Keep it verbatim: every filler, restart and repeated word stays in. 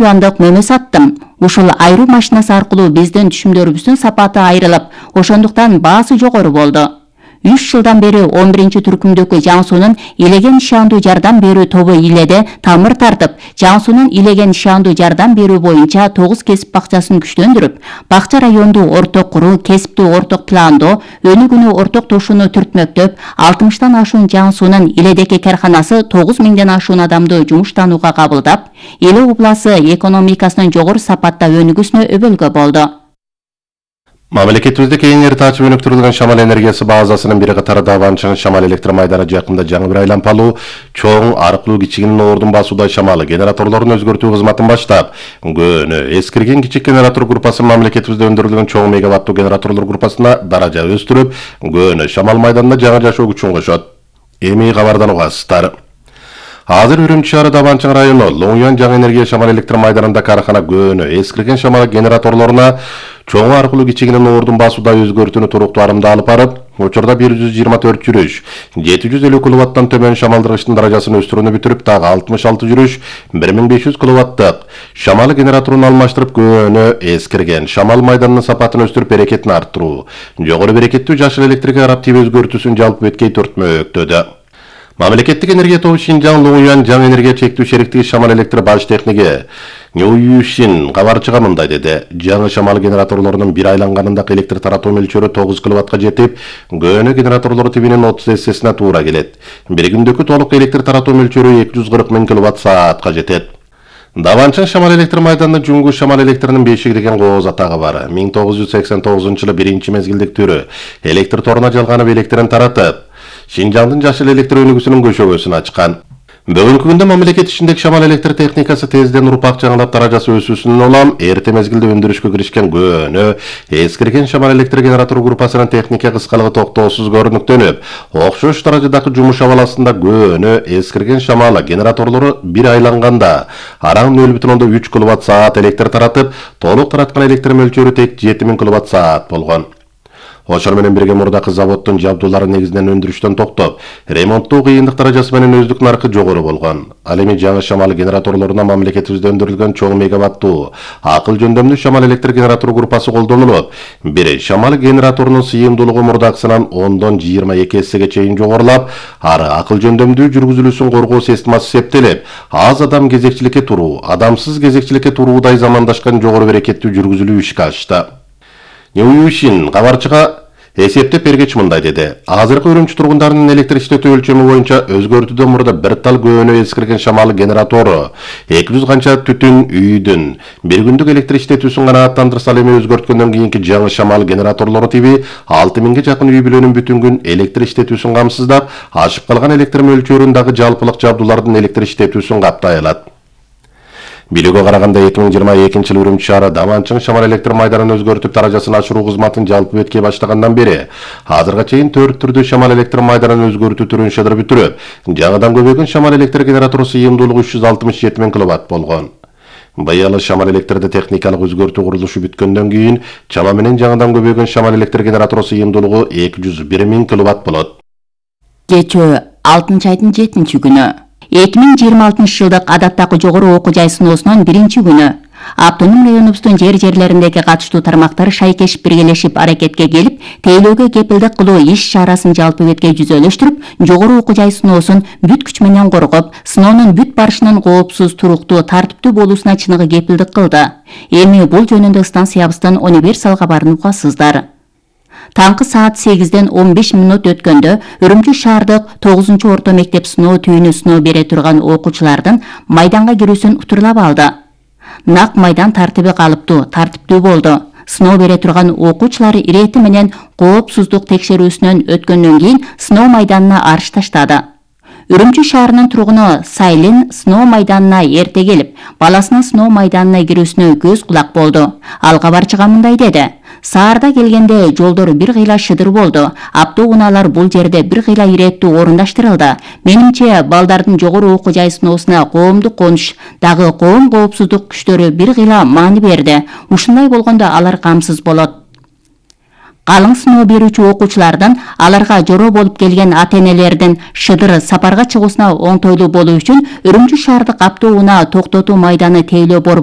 юандык мөмө саттым. Ушул айруу машинасы аркылуу биздин түшүмдөрүбүздүн сапаты айрылып, ошондуктан баасы жогору болду. үч жылдан бери он биринчи түркүмдөгү Жаңы суунун Илеген ишандуу жардам берүү тобу Иледе тамыр тартып, Жаңы суунун Илеген ишандуу жардам берүү боюнча тогуз кесип бакчасын күчтөндүрүп, бакча райондуу орток куруу, кесиптүү орток пландоо, өнүгүүнү орток тошууну түртмөктөп, алтымыштан ашуун Жаңы суунун Иледеки карханасы тогуз миңден ашуун адамды жумуштанууга кабылдап, Иле обласы экономикасынын жогору сапатта өнүгүүсүнө өбөлгө болду. Мамлекетибизде кеңири таачып өнүктүрүлгөн шамал энергиясы базасынын бири катары Даванчың шамал электр майданы жакында жаңы бир айланпалуу чоң аркылуу кичигинин ордун басуудай шамалы генераторлорун өзгөртүү кызматын баштап, көөнө эскирген кичик генератор группасы мамлекетибизде өндүрүлгөн чоң мегаваттуу генераторлор группасына даража өстүрүп, көөнө шамал майданына жаңы жашоо күчүн кошот. Эми кабардан угасыздар. Азыр Үрүмчү шаары Даванчың району Лоңуян жаңы энергия шамал электр майданында карахана көөнө эскирген шамал генераторлоруна чоң аркылуу кичигинин ордун басуудай өзгөртүүнү туруктуу арымда алып барып, учурда бир жүз жыйырма төрт жүрүш, жети жүз элүү киловаттан төмөн шамалдыргычтын даражасын өстүрүүнү бүтүрүп, дагы алтымыш алты жүрүш, бир миң беш жүз киловаттык шамал генераторун алмаштырып, көөнө эскирген шамал майданынын сапатын өстүрүп, берекетин арттыруу, жогору берекеттүү жашыл электрге карап тип өзгөртүүсүн жалпы беткей төртмөктөдө. Мамлекеттик энергия тобу Шинжаң Лоңуян жаңы энергия чектүү шериктиги шамал электр баш техниги Ньююшин кабарчыга мындай деди. Жаңы шамал генераторлорунун бир айланганындагы электр таратуу мөлчөрү тогуз киловаттка жетип, көөнө генераторлору тибинин отуз эссесине туура келет. Бир күндөгү толук электр таратуу мөлчөрү эки жүз кырк миң киловатт саатка жетет. Даванчың шамал электр майданында Жуңгу шамал электринин бешиги деген кооз атагы бар. миң тогуз жүз сексен тогузунчу жылы биринчи мезгилдик түрү электр торуна жалганып электрин таратып, Шинжаңдын жашыл электр өнүгүүсүнүн көшөгөсүн ачкан. Бүгүнкү күндө мамлекет ичиндеги шамал электр техникасы тезден урпак жаңылап даражасы өсүүсүнөн улам эрте мезгилде өндүрүшкө киришкен көөнө эскирген шамал электр генератор группасынын техника кыскалыгы токтоосуз көрүнүктөнүп, окшош даражадагы жумуш абаласында көөнө эскирген шамал генераторлору бир айланганда араң нөл бүтүн ондон үч киловатт саат электр таратып, толук тараткан электр мөлчөрү тек жети миң киловатт саат болгон. Ошол менен бирге мурдакы заводдун жабдуулары негизинен өндүрүштөн токтоп, ремонттоо кыйындык даражасы менен өздүк наркы жогору болгон. Ал эми жаңы шамал генераторлоруна мамлекетибизде өндүрүлгөн чоң мегаваттуу акыл жөндөмдүү шамал электр генератор группасы колдонулуп, бир шамал генераторунун сыйымдуулугу мурдакысынан ондон жыйырма эки эссеге чейин жогорулап, ары акыл жөндөмдүү жүргүзүлүүсүн коргоо системасы септелип, аз адам кезекчиликке туруу, адамсыз кезекчиликке туруудай замандашкан жогору берекеттүү жүргүзүлүү ишке ашты. Ньююшин кабарчыга эсептеп бергеч мындай деди. Азыркы Үрүмчү тургундарынын электр иштетүү өлчөмү боюнча өзгөртүүдөн мурда бир тал көөнө эскирген шамал генератору, эки жүз канча түтүн үйдүн бир күндүк электр иштетүүсүн канааттандырса, эми өзгөрткөндөн кийинки жаңы шамал генераторлору тиби алты миңге жакын үй бүлөнүн бүтүн күн электр иштетүүсүн камсыздап, ашып калган электр мөлчөрүн дагы жалпылык жабдуулардын электр иштетүүсүн каптай алат. Билүүгө караганда эки миң жыйырма экинчи жылы Үрүмчү шаары Даванчың шамал электр майданын өзгөртүп даражасын ашыруу кызматын жалпы беткей баштагандан бери азырга чейин төрт түрдүү шамал электр майданын өзгөртүү түрүн шыдыр бүтүрүп, жаңыдан көбөйгөн шамал электр генератору сыйымдуулугу үч жүз алтымыш жети миң киловатт болгон. Быйыл шамал электрде техникалык өзгөртүү курулушу бүткөндөн кийин чама менен жаңыдан көбөйгөн шамал электр генератору сыйымдуулугу эки жүз бир миң киловатт болот. Кечөө алтынчы айдын жетинчи күнү эки миң жыйырма алтынчы жылдык адаттагы жогору окуу жай сыноосунун биринчи күнү автоном районубуздун жер жерлериндеги катыштуу тармактар шайкешип биргелешип аракетке келип, тейлөөгө кепилдик кылуу иш чарасын жалпы бетке жүзөлөштүрүп, жогору окуу жай сыноосун бүт күч менен коргоп, сыноонун бүт барышынын коопсуз, туруктуу, тартиптүү болуусуна чыныгы кепилдик кылды. Эми бул жөнүндө станциябыздын универсал кабарын угасыздар. Таңкы саат сегизден он беш мүнөт өткөндө Үрүмчү шаардык тогузунчу орто мектеп сыноо түйүнү сыноо бере турган окуучулардын майданга кирүүсүн утурлап алды. Нак майдан тартиби калыптуу, тартиптүү болду. Сыноо бере турган окуучулар ирети менен коопсуздук текшерүүсүнөн өткөндөн кийин сыноо майданына арыш таштады. Үрүмчү шаарынын тургуну Сайлин сыноо майданына эрте келип, баласынын сыноо майданына кирүүсүнө көз кулак болду. Ал кабарчыга мындай деди: Саарда келгенде жолдор бир кыйла шыдыр болду. Автоунаалар бул жерде бир кыйла иреттүү орундаштырылды. Менимче, балдардын жогору окуу жай сыноосуна коомдук конуш, дагы коом коопсуздук күчтөрү бир кыйла маани берди. Ушундай болгондо алар камсыз болот. калың сыноо берүүчү окуучулардан аларга жороо болуп келген ата-энелердин Шыдыр сапарга чыгуусуна оңтойлуу болуу үчүн Үрүмчү шаардык автоунаа токтотуу майданы тейлөө борбору